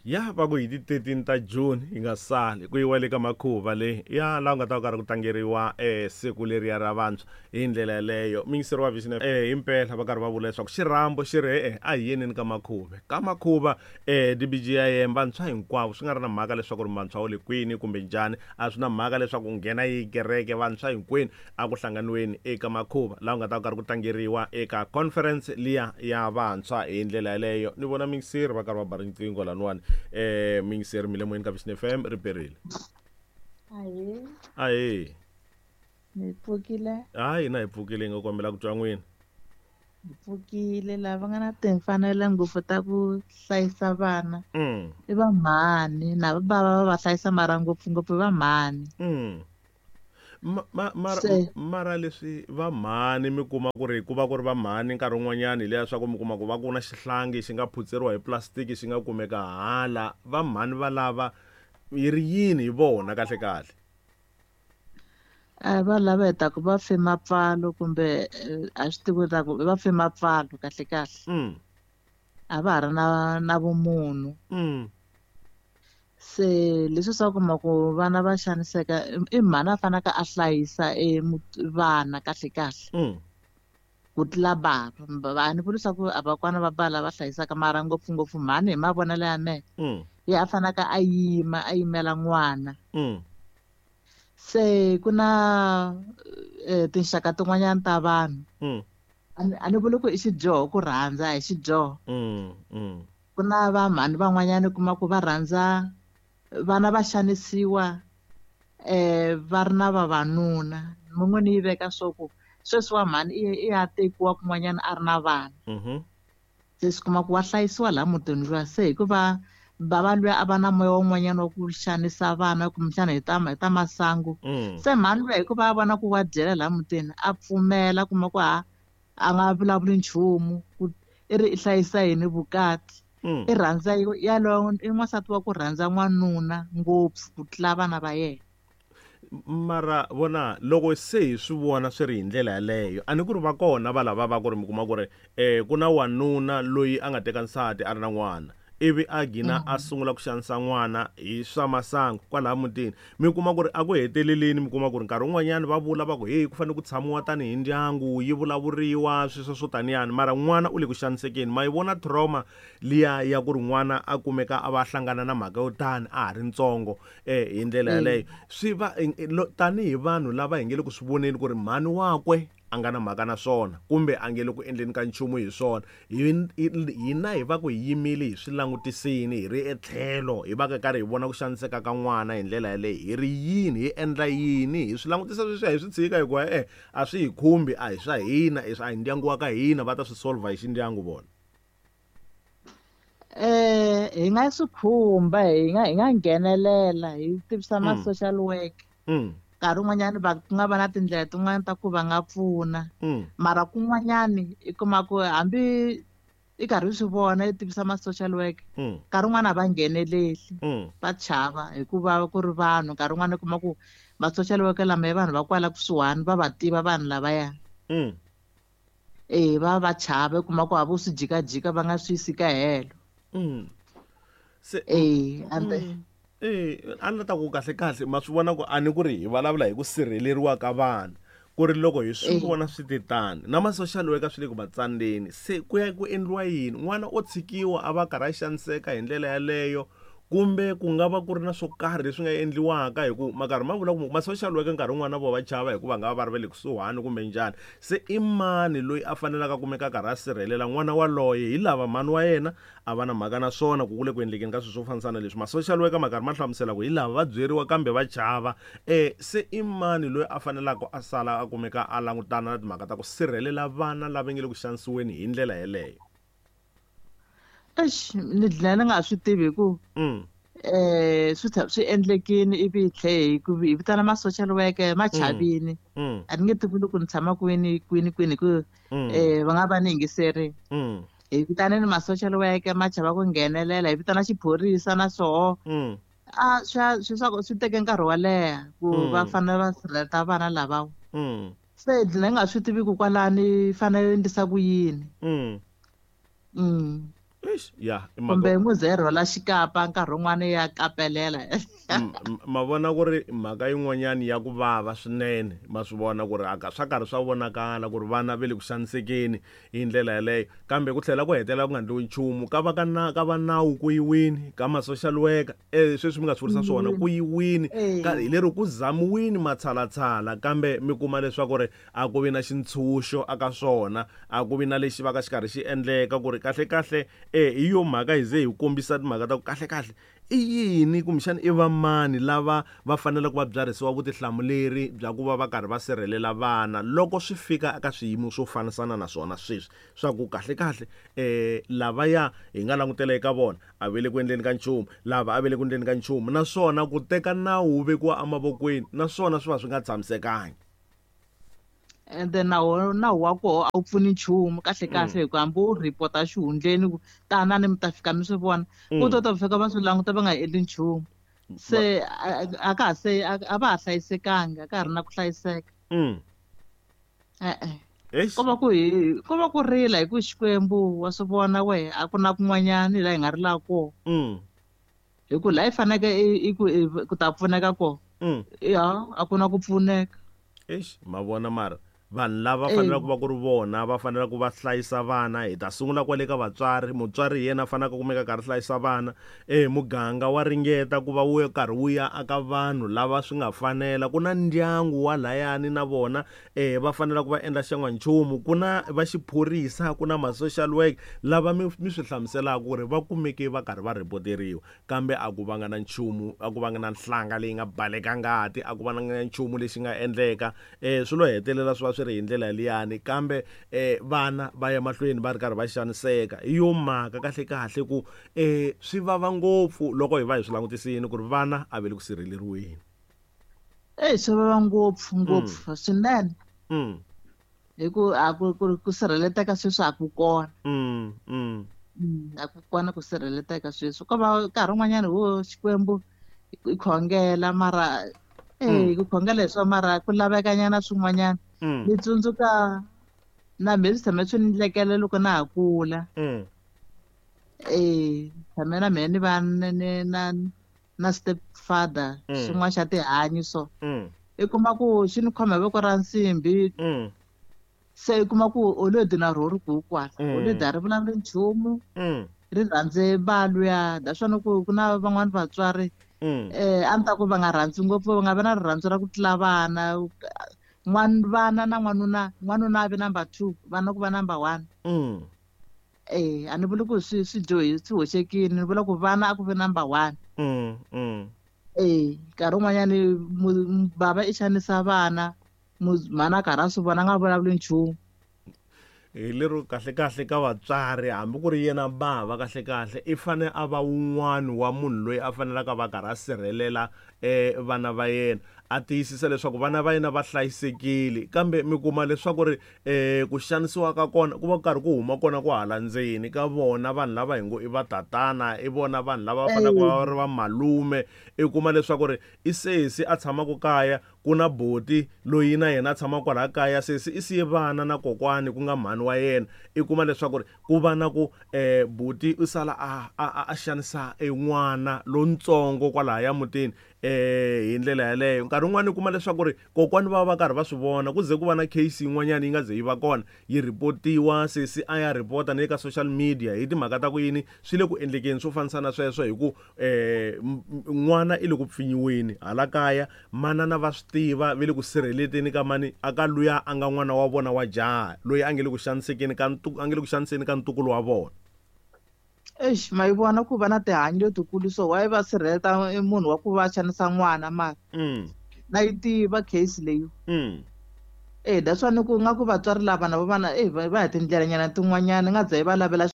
Ya va ku hi ti 13 ta June hi nga sali ku yiwa le ka makhuva leyi ya laha ku nga ta va karhi ku tlangeriwa siku leriya ra vantshwa hi ndlela yaleyo. Muyingiseri wa Vision himpela va karhi va vula leswaku xirhambo xi ri e-e a hi yeneni ka makhuva. Ka makhuva DBGIM vantshwa hinkwavo swi nga ri na mhaka leswaku ri vantshwa wa le kwini kumbe njhani a swi na mhaka leswaku u nghena yihi kereke vantshwa hinkwenu a ku hlanganiweni eka makhuva laha ku nga ta va karhi ku tlangeriwa eka conference liya ya vantshwa hi ndlela yaleyo. Ni vona muyingiseri va karhi va ba riqingho laniwani. Muyingiseri mi le moyeni ka Vision FM ri perile. Ahee. Ahee. Mi pfukile? Hayi, hina hi pfukile, hi nga kombela ku twa n'wina. Hi pfukile, lava nga na timfanelo ngopfu ta ku hlayisa vana i va mhani na va bava va va hlayisa mara ngopfungopfu i va mhani. Mara, Se. mara leswi va mhani mi kuma ku ri ku va ku ri va mhani nkarhi wun'wanyani hi liya swa ku mi kuma ku va ku na xihlangi xi nga phutseriwa hi plastic xi nga kumeka hala va mhani va lava yi ri yini hi vona kahle kahle? A va lava hi ta ku va fe mapfalo kumbe a swi tivi ta ku va fe mapfalo kahle kahle. A va ha ri na vumunhu. Se leswi swa kuma ku vana va xaniseka i mhani a fanaka a hlayisa vana kahle kahle. Ku tlula bava. A ni vuli swa ku a va kona va bava lava hlayisaka mara ngopfungopfu mhani hi mavonelo ya mehe. Ye a fanaka a yima a yimela n'wana. Se ku na tinxaka tin'wanyana ta vanhu. A ni vuli ku i xidyoho ku rhandza, a hi xidyoho. Ku na va mhani van'wanyana u kuma ku va rhandza vana va xanisiwa va ri na vavanuna. Mun'we ni yi veka swo ku sweswi wa mhani i ya tekiwa kun'wanyana a ri na vana. Se swi kuma ku wa hlayisiwa laha mutini luya se hikuva bava luya a va na moya wun'wanyana wa ku xanisa vana kumbexana hi ta masangu. Se mhani luya hikuva a vona ku wa dyela laha mutini a pfumela kuma ku a nga vulavuli nchumu ku i ri i hlayisa yini vukati. I rhandza yalowo i n'wansati wa ku rhandza n'wanuna ngopfu ku tlula vana va yena. Mara vona loko se hi swi vona swi ri hi ndlela yaleyo a ni ku ri va kona va lava va ku ri mi kuma ku ri ku na wanuna loyi a nga teka nsati a ri na n'wana ivi a gina a sungula ku xanisa n'wana hi swa masangu kwalaha mutini mi kuma ku ri a ku heteleleni mi kuma ku ri nkarhi wun'wanyani va vula va ku hey ku fanele ku tshamiwa tanihi ndyangu yi vulavuriwa sweswo swo taniyani mara n'wana u le ku xanisekeni. Ma yi vona trauma liya ya ku ri n'wana a kumeka a va hlangana na mhaka yo tani a ha ri ntsongo hi ndlela yaleyo. Swi va tanihi vanhu lava hi nge le ku swi voneni ku ri mhani wakwe a nga na mhaka na swona kumbe a nge le ku endleni ka nchumu hi swona hina hi va ku hi yimile hi swi langutisini hi ri etlhelo hi va ka karhi hi vona ku xaniseka ka n'wana hi ndlela yaleyo hi ri yini hi endla yini hi swi langutisa sweswiya hi swi tshika hikuva a swi hi khumbi a hi swa hina a hi ndyangu wa ka hina va ta swi solve hi xindyangu vona. Hi nga swi khumba hi nga nghenelela hi tivisa ma social work. Nkarhi wun'wanyani va ku nga va na tindlela tin'wani ta ku va nga pfuna. Mara kun'wanyani i kuma ku hambi i karhi u swi vona i tivisa ma social work, nkarhi wun'wani a va ngheneleli, va chava hikuva ku ri vanhu. Nkarhi wun'wani u kuma ku ma social worker lama i vanhu va kwala kusuhani va va tiva vanhu lavaya. Va va chava, u kuma ku a vo swi jikajika va nga swi yisi ka helo. Se, And then A ni ta ku kahle kahle ma swi vona ku a ni ku ri hi vulavula hi ku sirheleriwa ka vana ku ri loko hi swi vona swi te tani na ma social worker swi le ku va tsandzeni se ku ya ku endliwa yini n'wana o tshikiwa a va karhi a xaniseka hi ndlela yaleyo kumbe ku nga va ku ri na swo karhi leswi nga endliwaka hi ku ma karhi ma vula ku ma social worker nkarhi wun'wana na vona va chava hikuva nga va va ri va le kusuhani kumbe njhani se i mani loyi a fanelaka a kumeka a karhi a sirhelela n'wana waloye hi lava mhani wa yena a va na mhaka na swona ku ku le ku endlekeni ka swilo swo fambisana leswi ma social worker ma karhi ma hlamusela ku hi lava va byeriwa kambe va chava se i mani loyi a fanelaka a sala a kumeka a langutana na timhaka ta ku sirhelela vana lava nge le ku xanisiweni hi ndlela yeleyo. Eish, ni dlina ni nga swi tivi hi ku, swi swi endlekini ivi hi tlhe hi ku hi vitana ma social worker ma chavini. A ni nge tivi loko ni tshama kwini kwini kwini hi ku, va nga va ni yingiserini. Hi vitaneni ma social worker ma chava ku nghenelela, hi vitana xiphorisa na swoho. A swi swa ku swi teke nkarhi wo leha ku va fanele va sirheleta vana lavawa. Se hi dlina hi nga swi tivi ku kwalani fanele endlisa ku yini. Eish, ya i mhaka Kumbe n'wi ze rhwala xikapa nkarhi wun'wana ya kapelela. Ma vona ku ri mhaka yin'wanyani ya ku vava swinene, ma swi vona ku ri aka swa karhi swa vonakala ku ri vana ve le ku xanisekeni hi ndlela yaleyo, kambe ku tlhela ku hetelela ku nga endliwi nchumu. Ka va ka na ka va nawu ku yiwini, ka ma social worker sweswi mi nga swi vurisa swona ku yiwini, ka hi lero ku zamiwini matshalatshala, kambe mi kuma leswaku ri a ku vi na xintshunxo aka swona, a ku vi na lexi va ka xi karhi xi endleka ku ri kahlekahle hi yo mhaka hi ze hi kombisa timhaka ta ku kahlekahle i yini kumbexana i va mani lava va faneleke va byarhisiwa vutihlamuleri bya ku va va karhi va sirhelela vana loko swi fika eka swiyimo swo fanisana na swona sweswi swa ku kahlekahle lavaya hi nga langutela eka vona a ve le ku endleni ka nchumu, lava a ve le ku endleni ka nchumu, naswona ku teka nawu wu vekiwa emavokweni naswona swi va swi nga tshamisekangi. Ende nawu nawu wa koho a wu pfuni nchumu kahle kahle, hi ku hambi u report-a xihundleni ku tanani mi ta fika mi swi vona, ku to ta fika va swi languta va nga endli nchumu. Se a ka ha se a va ha hlayisekanga, a ka ha ri na ku hlayiseka. E-e. Eish. Ko va ku hi ko va ku rila hi ku Xikwembu wa swi vona wehe, a ku na kun'wanyani laha hi nga rilaka kona. Hi ku laha hi faneke i ku ku ta pfuneka kona, ya a ku na ku pfuneka. Eish, ma vona mara vanhu lava faneleke ku va ku ri vona va faneleke ku va hlayisa vana, hi ta sungula kwale ka vatswari, mutswari hi yena a faneleke ku kumeka karhi hlayisa vana. Muganga wa ringeta ku va wu karhi wu ya aka vanhu lava swi nga fanela, ku na ndyangu wa layani na vona va faneleke ku va endla xan'wanchumu, ku na va xiphorisa, ku na ma social work lava mi swi hlamuselaka ku ri va kumeke va karhi va reporteriwa, kambe a ku vanga na nchumu, a ku vanga na nhlanga leyi nga baleka ngati, a ku vanga na nchumu lexi nga endleka. Swi lo hetelela swi va swi ri hi ndlela liyani, kambe vana va ya mahlweni va ri karhi va xaniseka. Hi yo mhaka kahle kahle ku swi vava ngopfu loko hi va hi swi langutisini ku ri vana a va le ku sirheleriweni. Swi vava ngopfu ngopfu swinene. Hi ku a ku ku sirheleteka sweswi a ku kona. A ku kona ku sirheleteka sweswi. Ko va nkarhi wun'wanyana ho Xikwembu i khongela mara ku khongela hi swona mara ku lavekanyana swin'wanyana. Ni tsundzuka na mehe swi tshame swi ni ndlekela loko na ha kula. Tshame na mehe ni va na na step father xin'wana xa tihanyi so. I kuma ku xi ni khoma hi voko ra nsimbhi. Se i kuma ku already na rho ri ku kwala. Already a ri vulavuli nchumu. Ri rhandze va luya, naswona ku ku na van'wani vatswari a ni ta ku va nga rhandzi ngopfu, va nga vi na rirhandzu ra ku tlula vana. Vana na n'wanuna, n'wanuna a vi number 2, vana ku va number 1. A ni vuli ku swi swi dyohi swi hoxekile, ni vula ku vana a ku vi number 1. Nkarhi wun'wanyani bava i xanisa vana, mhana a karhi a swi vona a nga vulavuli nchumu. Hi lero kahle kahle ka vatswari, hambi ku ri yena bava kahle kahle i fane a va wun'wani wa munhu loyi a fanelaka va karhi a sirhelela vana va yena, a tiyisisa leswaku vana va yena va hlayisekile, kambe mi kuma leswaku ri ku xanisiwa ka kona ku va ku karhi ku huma kona ku hala ndzeni ka vona vanhu lava hi ngo i va tatana, i vona vanhu lava va fanelaka va ri va malume. I kuma leswaku ri i sesi a tshamaka kaya, ku na boti loyi na yena a tshamaka kwalaya kaya, sesi i siye vana na kokwani ku nga mhani wa yena. I kuma leswaku ri ku va na ku buti u sala a xanisa n'wana lontsongo kwalaya mutini hi ndlela yaleyo. Nkarhi wun'wani u kuma leswaku ri kokwani va va karhi va swi vona, ku ze ku va na case yin'wanyana yi nga ze yi va kona yi reportiwa, sesi a ya report-a na le ka social media hi timhaka ta ku yini swi le ku endlekeni swo fanisana sweswo, hi ku n'wana i le ku pfinyiweni hala kaya, manana va swi tiva ve le ku sirheleteni ka mani aka luya a nga n'wana wa vona wa jaha loyi a nge le ku xanisekeni ka a nge le ku xaniseni ka ntukulu wa vona. Eish, ma yi vona ku va na tihanyi letikulu so why va sirheleta munhu wa ku va xanisa n'wana mara? Na yi tiva case leyi. That's why ni ku nga ku vatswari lava na vona va hi tindlela nyana tin'wanyana nga za yi va lavela